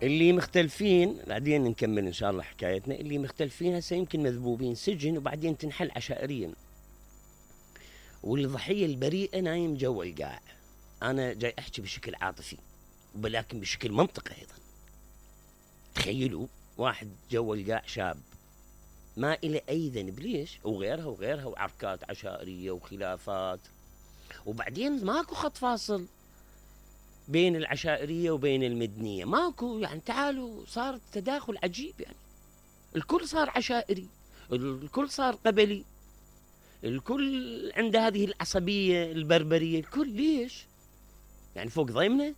اللي مختلفين بعدين نكمل ان شاء الله حكايتنا. اللي مختلفين هسه يمكن مذبوبين سجن وبعدين تنحل عشائريا، والضحيه البريئه نايم جوا القاع. انا جاي احكي بشكل عاطفي ولكن بشكل منطقي ايضا. تخيلوا واحد جوا القاع شاب ما إلى اي ذنب، ليش؟ وغيرها وغيرها وعركات عشائريه وخلافات، وبعدين ماكو خط فاصل بين العشائريه وبين المدنيه، ماكو يعني. تعالوا صار تداخل عجيب يعني، الكل صار عشائري، الكل صار قبلي، الكل عنده هذه العصبيه البربريه، الكل. ليش؟ يعني فوق ضيمنا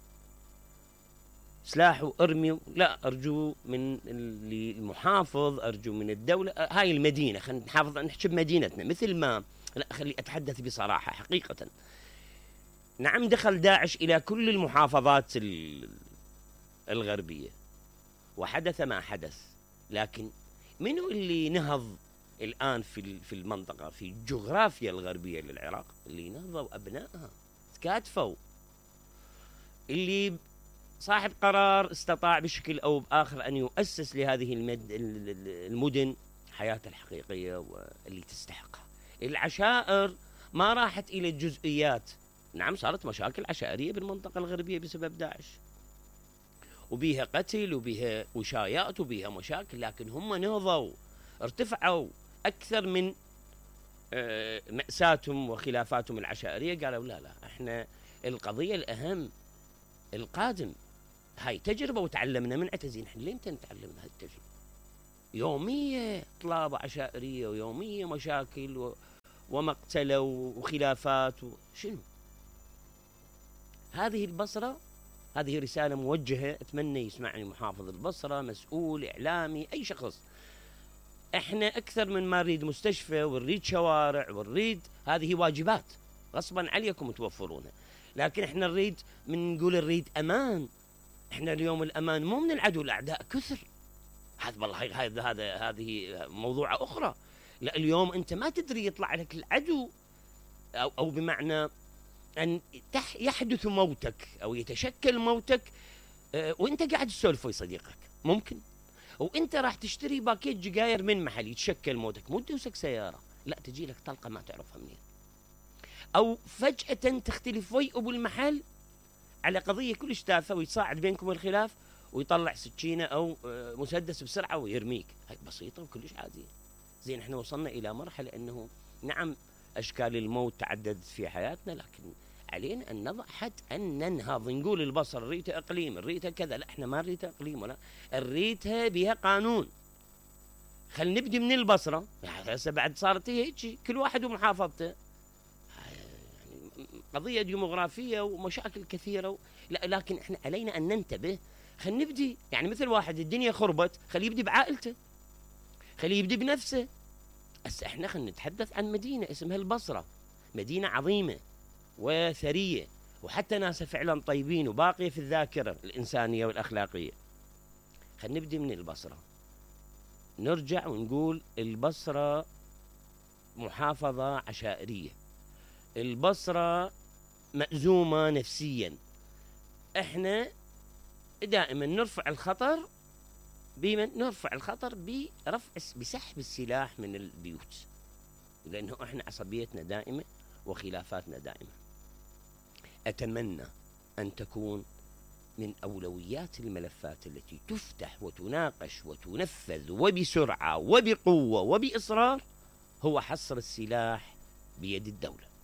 سلاح وارمي؟ لا، ارجو من المحافظ، ارجو من الدوله، هاي المدينه خلينا نحافظ نحكي بمدينتنا مثل ما. لا، خلي اتحدث بصراحه حقيقه. نعم، دخل داعش الى كل المحافظات الغربيه وحدث ما حدث، لكن منو اللي نهض الان في المنطقه، في الجغرافيا الغربيه للعراق؟ اللي نهضوا ابنائها، تكاتفوا، اللي صاحب قرار استطاع بشكل أو بآخر أن يؤسس لهذه المدن حياة الحقيقية واللي تستحقها. العشائر ما راحت إلى الجزئيات. نعم، صارت مشاكل عشائرية بالمنطقة الغربية بسبب داعش، وبيها قتل وبيها وشايات وبيها مشاكل، لكن هم نهضوا، ارتفعوا أكثر من مأساتهم وخلافاتهم العشائرية. قالوا لا، احنا القضية الأهم القادم. هاي تجربة وتعلمنا من عتزين. احنا لين نتعلم من هاي التجربة؟ يومية طلابة عشائرية ويومية مشاكل ومقتلة وخلافات شنو؟ هذه البصرة، هذه رسالة موجهة، أتمنى يسمعني محافظ البصرة، مسؤول إعلامي، أي شخص. احنا أكثر من ما نريد مستشفى ونريد شوارع ونريد، هذه واجبات غصبا عليكم توفرونها، لكن احنا نريد، نقول نريد أمان. احنا اليوم الأمان مو من العدو، الأعداء كثر. هذا والله هذه موضوع أخرى. لا، اليوم أنت ما تدري يطلع لك العدو أو بمعنى أن يحدث موتك أو يتشكل موتك وأنت قاعد تسولف ويا صديقك، ممكن. وأنت راح تشتري باكيت جقاير من محل يتشكل موتك، مو تدوسك سيارة، لا، تجي لك طلقة ما تعرفها منين. أو فجأة تختلف ويا أبو المحل على قضية كلش تافهة ويتصاعد بينكم الخلاف ويطلع سكينة أو مسدس بسرعة ويرميك. هاي بسيطة وكلش عادية. زين، احنا وصلنا إلى مرحلة أنه نعم أشكال الموت تعددت في حياتنا، لكن علينا أن نضع حد، أن ننهض، نقول البصر نريتها إقليم، نريتها كذا. لا، احنا ما نريتها إقليم ولا نريتها بها قانون. خل نبدي من البصرة. هسه بعد صارت هيك كل واحد ومحافظته، قضية ديموغرافية ومشاكل كثيرة لا، لكن احنا علينا أن ننتبه. خلينا نبدي، يعني مثل واحد الدنيا خربت، خليه يبدي بعائلته، خليه يبدي بنفسه. بس احنا خلينا نتحدث عن مدينة اسمها البصرة، مدينة عظيمة وثرية، وحتى ناسها فعلا طيبين وباقية في الذاكرة الإنسانية والأخلاقية. خلينا نبدي من البصرة، نرجع ونقول البصرة محافظة عشائرية، البصرة مأزومة نفسيا. احنا دائما نرفع الخطر بسحب السلاح من البيوت، لأنه احنا عصبيتنا دائمة وخلافاتنا دائمة. أتمنى أن تكون من أولويات الملفات التي تفتح وتناقش وتنفذ وبسرعة وبقوة وبإصرار هو حصر السلاح بيد الدولة.